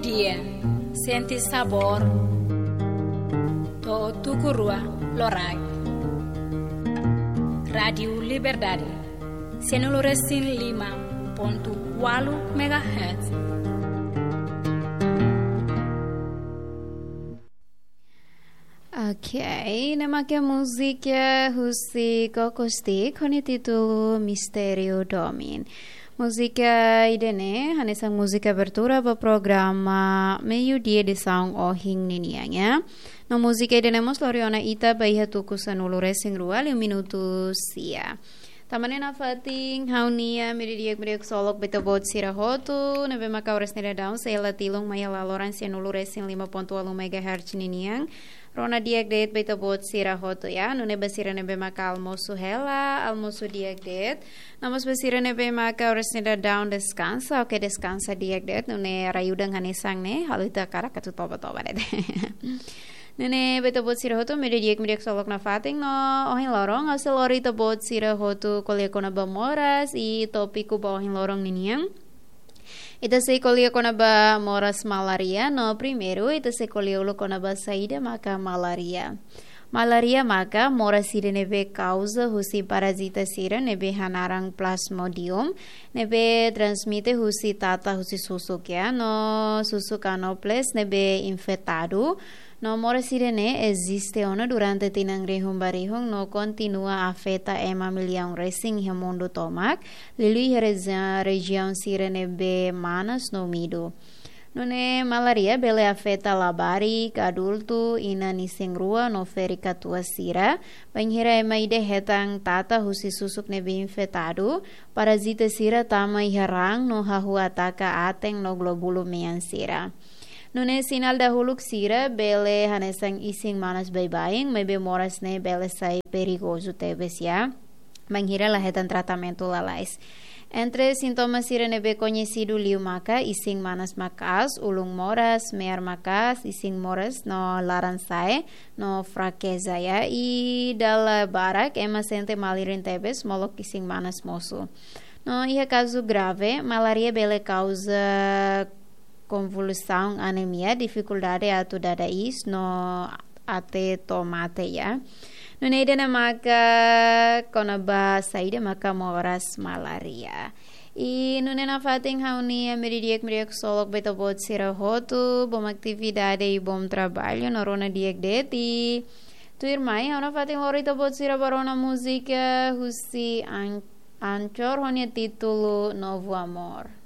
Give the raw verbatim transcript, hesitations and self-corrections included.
Dia, sente sabór, to'o tuku rua loraik. Rádiu Liberdade, sianulu resin lima pontu ualu megahertz. Ok, ne'e mak múzika husi Cocostic, ho nia títulu Mistériu Domin. Múzika ida-ne'e hanesan múzika abertura ba programa Meiudia edisaun ohin ninian, ya. No múzika ida-ne'e mós lori ona ita ba iha tuku sanulu resin rua liu minutu sia. Tanba ne'e nafatin ha'u-nia media di'ak, media ksolok ba ita-boot sira hotu, ne'ebé mak oras ne'e daudaun sei hela tilun mai iha laloran sianulu resin lima pontu ualu megahertz ninian. Rona di'ak de'it ba ita-boot sira hotu, ya. Nune'e ba sira ne'ebé mak almosu hela, almosu di'ak de'it. No mós ba sira ne'ebé mak oras ne'e daudaun deskansa, oke, deskansa di'ak de'it. Nune'e rai udan hanesan ne'e, halo ita hakarak atu toba-toba de'it. Nune'e ba ita-boot sira hotu, media di'ak, media ksolok nafatin no ohin loron, ha'u sei lori ita-boot sira hotu ko'alia kona-ba moras, i tópiku ba ohin loron ninian. Ita sei ko'alia kona-ba moras malária, no primeiru, ita sei ko'alia uluk kona-ba saida maka malária. Malária maka moras ida ne'ebé kauza husi parazita sira ne'ebé hanaran Plasmodium, ne'ebé transmite husi tata husi susuk, ya, no susuk Anopheles ne'ebé infetadu. No moras ida-ne'e eziste ona durante tinan rihun ba rihun no kontinua afeta ema millaun resin iha mundu tomak, liuliu iha reji-, rejiaun sira ne'ebé manas no úmidu. Nune'e malária bele afeta labarik, adultu, inan isin-rua no ferik katuas sira. Bainhira ema ida hetan tata husi susuk ne'ebé infetadu, parazita sira tama iha raan no hahú ataka aten no glóbulu mean sira. Nune'e sinál dahuluk sira bele hanesan isin manas baibain, maibé moras ne'e bele sai perigozu tebes, ya, bainhira la hetan tratamentu lalais. Entre sintoma sira ne'ebé koñesidu liu maka isin manas maka'as, ulun moras, me'ar maka'as, isin moras no laran-sa'e, no frakeza, ya. I dala barak ema sente malirin tebes, molok isin manas mosu. No iha kazu grave, malária bele kauza konvulsaun, anemia, difikuldade atu dada iis no até to'o mate, ya. Nune'e ida-ne'e maka kona-ba saida maka moras malária. I nune'e nafatin ha'u-nia media di'ak, media ksolok ba ita-boot sira hotu, bom atividade i bom traballu, no rona di'ak de'it. Tuirmai, ha'u nafatin lori ita-boot sira ba rona múzika husi An-, Anchor ho nia títulu Novo Amor.